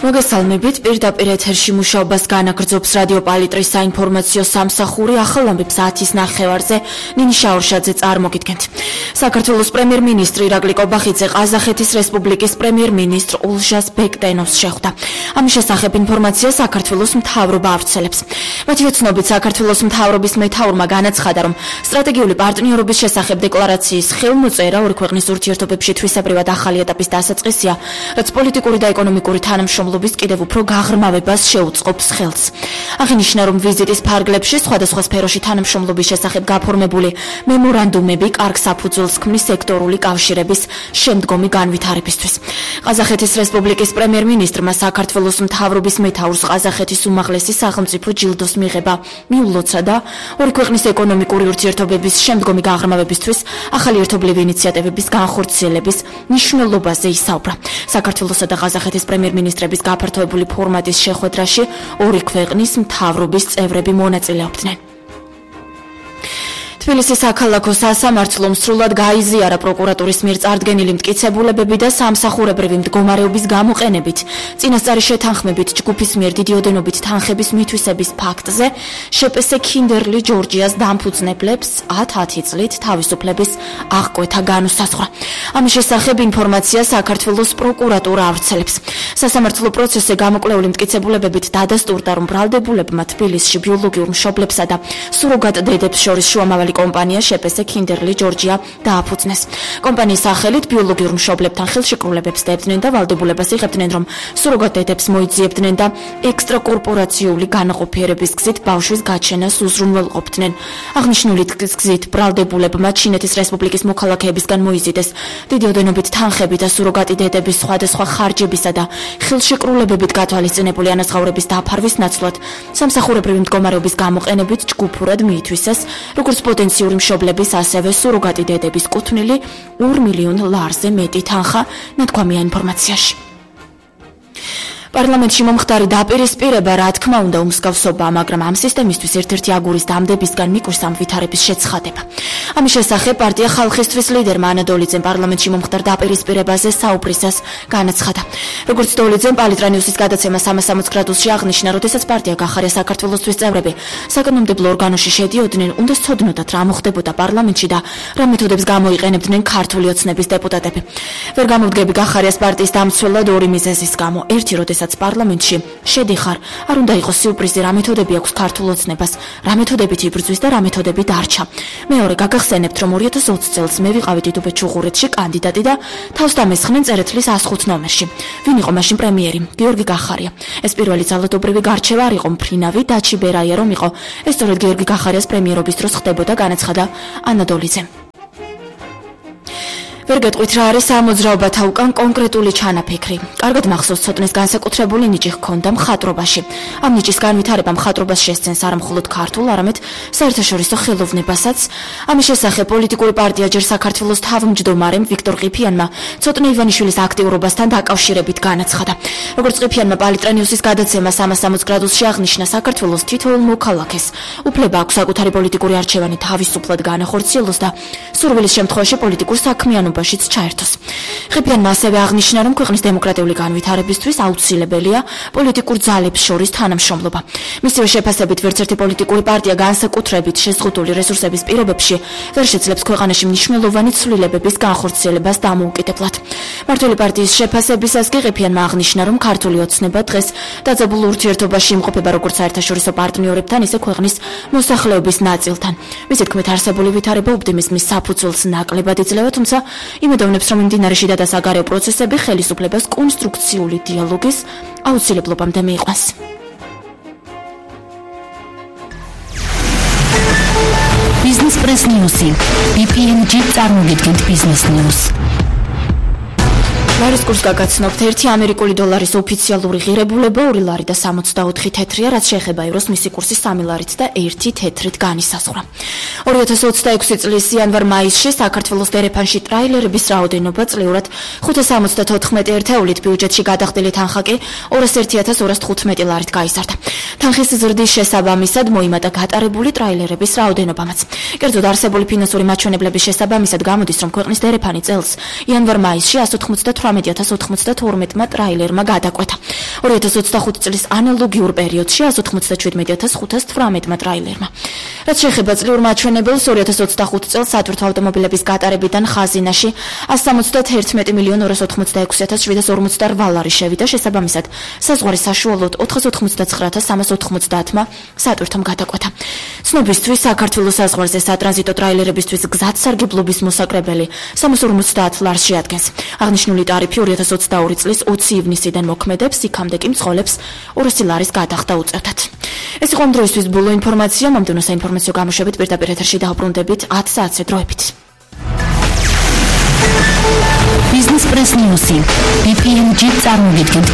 მოგესალმებით, პირდაპირ ეთერში მუშაობას განაგრძობს რადიო პალიტრის საინფორმაციო სამსახური. ახალ ამბებს 10:09-ზე ნინი შაურშაძე წარმოგიდგენთ. საქართველოს პრემიერ-მინისტრი ირაკლი კობახიძე ყაზახეთის რესპუბლიკის პრემიერ-მინისტრ ულჟას ბეკტენოვს შეხვდა. ამის შესახებ ინფორმაცია საქართველოს მთავრობა ავრცელებს. მათივე ცნობით, საქართველოს მთავრობის მეთაურმა განაცხადა, რომ სტრატეგიული პარტნიორობის შესახებ დეკლარაციის ხელმოწერა ორი ქვეყნის ურთიერთობებში თვისებრივად ახალი ეტაპის დასაწყისია, რაც პოლიტიკური და ეკონომიკური თანამშრომლობის კიდევ უფრო გაღრმავებას შეუწყობს ხელს. აღინიშნა, რომ ვიზიტის ფარგლებში სხვადასხვა სფეროში თანამშრომლობის შესახებ გაფორმებული მემორანდუმები კარგ საფუძველს ქმნის სექტორული კავშირების შემდგომი განვითარებისთვის. ყაზახეთის რესპუბლიკის პრემიერ-მინისტრმა საქართველოს მთავრობის მეთაურს ყაზახეთის უმაღლესი სახელმწიფო ჯილდოს მიღება მიულოცა და ორი ქვეყნის ეკონომიკური ურთიერთობების შემდგომი გაღრმავებისთვის ახალი ერთობლივი ინიციატივების განხორციელების მნიშვნელობაზე ისაუბრა. საქართველოსა და ყაზახეთის პრემიერ-მინისტრების გაფართოებული ფორმატის შეხვედრაში ორი ქვეყნის მთავრობის წევრები მონაწილეობდნენ. თბილისის საქალაქო სასამართლომ სრულად გაიზიარა პროკურატურის მიერ წარდგენილი მტკიცებულებები და სამსახურებრივი მდგომარეობის გამოყენებით წინასწარი შეთანხმებით ჯგუფის მიერ დიდი ოდენობით თანხების მითვისების ფაქტზე შეპესე ქინდერლი ჯორჯიას დამფუძნებლებს 10 წლით თავისუფლების აღკვეთა განუსაზღვრა. ამის შესახებ ინფორმაცია საქართველოს პროკურატურა ავრცელებს. სასამართლო პროცესზე გამოკვლეული მტკიცებულებებით დადასტურდა, რომ ბრალდებულებმა თბილისში ბიოლოგიურ მშობლებსა და სუროგატ დედებს შორის შუამავალი კომპანია შეპესე ქინდერლი ჯორჯია დააფუძნეს. კომპანიის სახელით ბიოლოგიურ მშობლებთან ხელშეკრულებებს დებდნენ და ვალდებულებას იღებდნენ, რომ სუროგატ დედებს მოიძიებდნენ და ექსტრაკორპორაციული განაყოფიერების გზით ბავშვის გაჩენას უზრუნველყოფდნენ. აღნიშნული გზით ბრალდებულებმა ჩინეთის რესპუბლიკის მოქალაქეებისგან მოიზიდეს დიდი ოდენობით თანხები და სუროგატი დედების სხვადასხვა ხარჯებისა და ხელშეკრულებებით გათვალისწინებული ანაზღაურების დაფარვის ნაცვლად სამსახურებრივი მდგომარეობის გამოყენებით ჯგუფურად მიითვისეს როგორც პოტენციური მშობლების, ასევე სუროგატი დედების კუთვნილი 2 მილიონ ლარზე მეტი თანხა, ნათქვამია ინფორმაციაში. პარლამენტში მომხდარი დაპირისპირება, რა თქმა უნდა, უმსგავსობაა, მაგრამ ამ სისტემისთვის ერთ-ერთი აგურის დამდებისგან მიკვრის ამ ვითარების შეცხადება. ამის შესახებ პარტია ხალხისთვის ლიდერმა ანა დოლიძემ პარლამენტში მომხდარ დაპირისპირებაზე საუბრისას განაცხადა. როგორც დოლიძემ პალიტრანიუსის გადაცემა 360 გრადუსში აღნიშნა, როდესაც პარტია გახარია საქართველოსთვის წევრები საკანონმდებლო ორგანოში შედიოდნენ, უნდა სცოდნოდათ რა მოხდებოდა პარლამენტში და რა მეთოდებს გამოიყენებდნენ ქართული ოცნების დეპუტატები. ვერ გამოვდგები გახარიას პარტიის დამცველად ორი მიზეზის გამო. ერთი, როდესაც პარლამენტში შედიხარ, არ უნდა იყოს სიურპრიზი, რა მეთოდები აქვს ქართულ ოცნებას, რა მეთოდებით იბრძვის და რა მეთოდები დარჩა. მეორე, გაგახსენებთ, რომ 2020 წელს მე ვიყავი დიდუბეთ-ჩუღურეთში კანდიდატი და თავს დამესხნენ წერეთლის 105 ნომერში. ვინ იყო მაშინ პრემიერი? გიორგი გახარია. ეს პირველი ძალადობრივი გარჩევა არ იყო მფრინავი, დაჩი ბერაია რომ იყო. ეს სწორედ გიორგი გახარიას პრემიერობის დროს ხდებოდა, განაცხადა ანა დოლიძემ. ვერ გეტყვით რა არის ამოძრაობათა უკან კონკრეტული ჩანაფიქრი. კარგად მახსოვს, ცოტნეს განსაკუთრებული ნიჭი ჰქონდა მხატვრობაში. ამ ნიჭის განვითარება მხატვრობას შესცენს არა მხოლოდ ქართულ, არამედ საერთაშორისო ხელოვნებასაც. ამის შესახებ პოლიტიკური პარტია ჯერ საქართველოს თავმჯდომარემ ვიქტორ ყიფიანმა ცოტნე ივანიშვილის აქტიურობასთან დაკავშირებით განაცხადა. როგორც ყიფიანმა პალიტრანიუსის გადაცემა 360 გრადუსში აღნიშნა, საქართველოს თითოეულ მოქალაქეს უფლება აქვს საკუთარი პოლიტიკური არჩევანი თავისუფლად განახორციელოს და სურვილის შემთხვევაში პოლიტიკურ საქმიანობაშიც ჩაერთოს. ყიფიანმა ასევე აღნიშნა, რომ ქვეყნის დემოკრატიული განვითარებისთვის აუცილებელია პოლიტიკურ ძალებს შორის თანამშრომლობა. მისივე შეფასებით, ვერც ერთი პოლიტიკური პარტია განსაკუთრებით შეზღუდული რესურსების პირობებში ვერ შეძლებს ქვეყანაში მნიშვნელოვანი ცვლილებების განხორციელებას დამოუკიდებლად. მართველი პარტიის შეფასებისას კი ყიფიანმა აღნიშნა, რომ ქართული ოცნება დღეს დაძაბულ ურთიერთობაში იმყოფება როგორც საერთაშორისო პარტნიორებთან, ისე ქვეყნის მოსახლეობის ნაწილთან. მისი თქმით, არსებული ვითარება ოპტიმიზმის საფუძველს ნაკლებად იძლევა, თუმცა იმედოვნებს, რომ მიმდინარე შიდა და საგარეო პროცესები ხელისუფლებას კონსტრუქციული დიალოგის აუცილებლობამდე მიიყვანს. Business Press News-ი. BPMG წარმოგიდგენთ Business News. ლარის კურსს გაგაცნობთ, 1 ამერიკული დოლარის ოფიციალური ღირებულება 2 ლარი და 64 თეთრია, რაც შეეხება ევროს მისი კურსი 3 ლარით და 1 თეთრით განისაზღვრა. 2026 წლის იანვარ-მაისში საქართველოს დერეფანში ტრაილერების რაოდენობა წლიურად 574 ერთეულით, ბიუჯეტში გადახდილი თანხა კი 201.215 ლარით გაიზარდა. თანხის ზრდის შესაბამისად მოიმატა გატარებული ტრაილერების რაოდენობამაც. კერძოდ არსებული ფინანსური მაჩვენებლების შესაბამისად გამოდის, რომ ქვეყნის დერეფანი წელს იანვარ-მაისში 198 18,092 ტრაილერმა გადაკვეთა. 2025 წლის ანალოგიურ პერიოდში 157,518 ტრაილერმა. რაც შეეხება წლიურ მაჩვენებელს, 2025 წელს სატვირთო ავტომობილების გატარებიდან ხაზინაში 171,286,748 ლარი შევიდა, შესაბამისად საზღვარი საშუალოდ 489,390 სატვირთომ გადაკვეთა. ცნობისთვის, საქართველოს საზღვარზე სატრანზიტო ტრაილერებისთვის გზადსარგებლობის მოსაკრებელი 350 ლარს შეადგენს. აღნიშნული ტარიფი 2022 წლის 20 ივნისიდან მოქმედებს, იქამდე კი მძღოლებს 200 ლარის გადახდა უწევდათ. ეს იყო ამ დროისთვის ბოლო ინფორმაცია. მომდევნო საინფორმაციო გამოშვებით პირდაპირ ეთერში დავბრუნდებით 10 საათზე დროებით. Business Press News. BPMG წარმოგვიდგენთ